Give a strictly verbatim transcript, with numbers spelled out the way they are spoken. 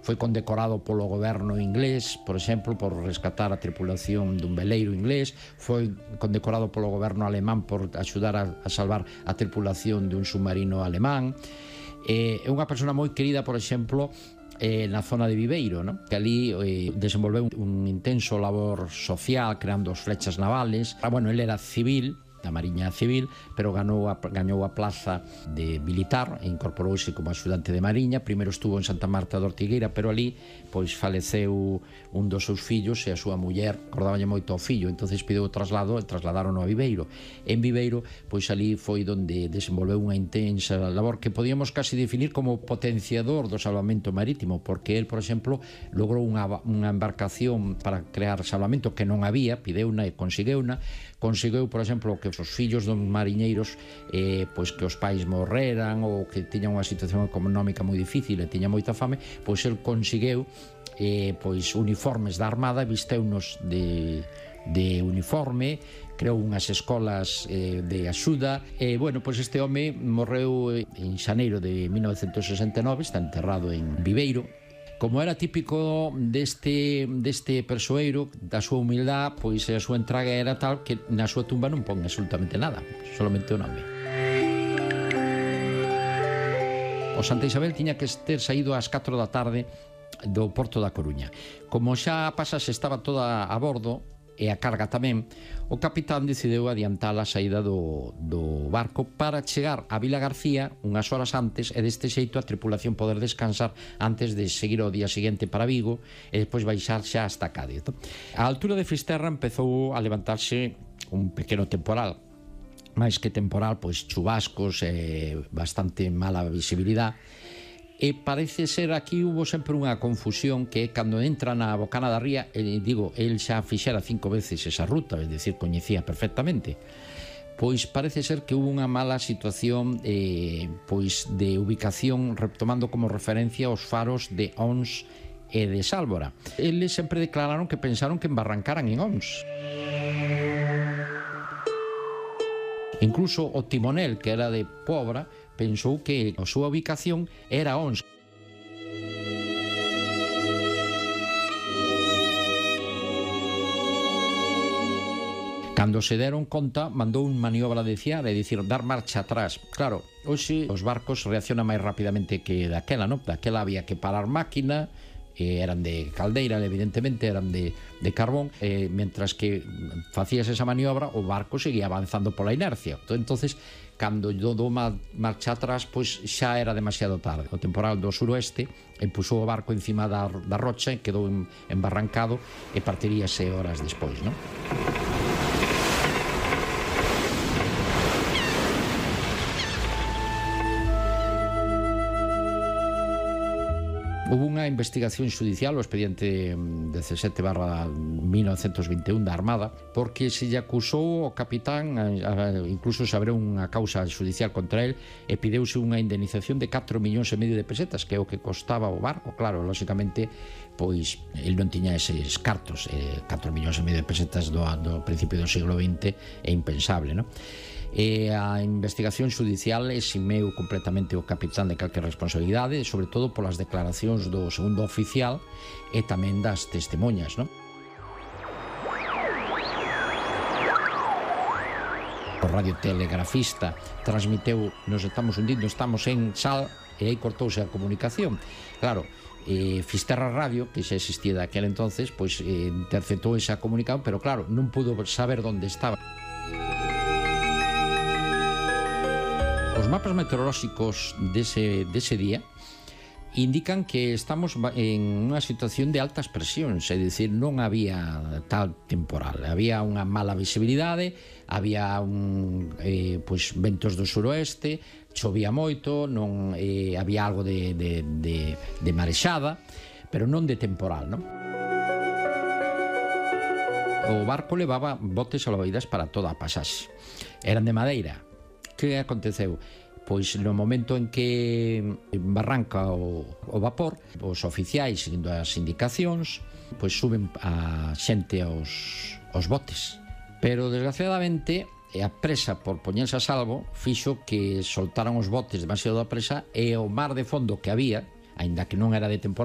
Foi condecorado polo goberno inglés, por exemplo, por rescatar a tripulación dun veleiro inglés. Foi condecorado polo goberno alemán por axudar a, a salvar a tripulación dun submarino alemán. É eh, unha persona moi querida, por exemplo, eh, na zona de Viveiro, ¿no? Que ali eh, desenvolveu un intenso labor social creando as flechas navales. Ah, bueno, ele era civil, da Mariña Civil, pero ganou a, gañou a plaza de militar e incorporouse como axudante de Mariña. Primeiro estuvo en Santa Marta de Ortigueira, pero ali pois faleceu un dos seus fillos e a súa muller acordáballe moito ao fillo, entonces pideu o traslado e trasladaron a Viveiro. En Viveiro, pois ali foi onde desenvolveu unha intensa labor que podíamos casi definir como potenciador do salvamento marítimo, porque el, por exemplo, logrou unha, unha embarcación para crear salvamento que non había, pideuna e consegueuna. Conseguiu, por exemplo, que os fillos dos mariñeiros eh, pois que os pais morreran ou que tiñan unha situación económica moi difícil e tiña moita fame, pois el conseguiu eh, pois uniformes da Armada, visteunos de, de uniforme, creou unhas escolas eh, de axuda e, bueno, pois este home morreu en xaneiro de mil novecentos sesenta e nove, está enterrado en Viveiro. Como era típico deste, deste persoeiro, da súa humildade, pois a súa entrega era tal que na súa tumba non pon absolutamente nada, solamente o nome. O Santa Isabel tiña que ter saído ás catro da tarde do Porto da Coruña. Como xa a pasase estaba toda a bordo, e a carga tamén, o capitán decideu adiantar a saída do, do barco para chegar a Vila García unhas horas antes e deste xeito a tripulación poder descansar antes de seguir o día seguinte para Vigo e despois baixar xa hasta Cádiz. A altura de Fisterra empezou a levantarse un pequeno temporal, máis que temporal, pois chubascos e bastante mala visibilidade. E parece ser aquí hubo sempre unha confusión que cando entra na Bocana da Ría, eh, digo, el xa fixera cinco veces esa ruta, é dicir, coñecía perfectamente, pois parece ser que hubo unha mala situación eh, pois de ubicación, retomando como referencia os faros de Ons e de Sálvora. Eles sempre declararon que pensaron que embarrancaran en Ons. Incluso o timonel, que era de Pobra, pensou que a súa ubicación era Ons. Cando se deron conta, mandou un maniobra de ciar, é dicir, dar marcha atrás. Claro, hoxe os barcos reaccionan máis rapidamente que daquela, non? Daquela había que parar máquina, eh, eran de caldeira, evidentemente, eran de, de carbón, eh, mentras que facías esa maniobra, o barco seguía avanzando pola inercia. Entonces, cando do doma marcha atrás, pois xa era demasiado tarde. O temporal do suroeste empusou o barco encima da, da rocha e quedou embarrancado e partiríase horas despois, non? Hubo unha investigación judicial, o expediente dezasete barra mil novecentos vinte e un da Armada, porque se lle acusou ao capitán, incluso se abriu unha causa judicial contra el e pideuse unha indemnización de catro millóns e medio de pesetas, que é o que costaba o barco. Claro, lóxicamente, pois, el non tiña eses cartos, eh, catro millóns e medio de pesetas do, do principio do siglo vinte é impensable, non? E a investigación judicial eximeu completamente o capitán de calquer responsabilidade, sobre todo polas declaracións do segundo oficial e tamén das testemunhas, non? O radiotelegrafista transmiteu: nos estamos hundindo, estamos en Sal, e aí cortouse a comunicación. Claro, eh, Fisterra Radio, que xa existía daquel entonces, pois eh, interceptou esa comunicación, pero claro, non pudo saber onde estaba. Os mapas meteorolóxicos dese, dese día indican que estamos en unha situación de altas presións, é dicir, non había tal temporal, había unha mala visibilidade, había un, eh, pois, ventos do suroeste, chovía moito, non eh, había algo de, de, de, de marexada, pero non de temporal, non? O barco levaba botes salvavidas para toda a pasaxe, eran de madeira. Que aconteceu? Pois no momento en que barranca o, o vapor, os oficiais, seguindo as indicacións, pois suben a xente aos, aos botes. Pero, desgraciadamente, a presa por poñerse a salvo fixo que soltaran os botes demasiado a presa e o mar de fondo que había, aínda que non era de temporada,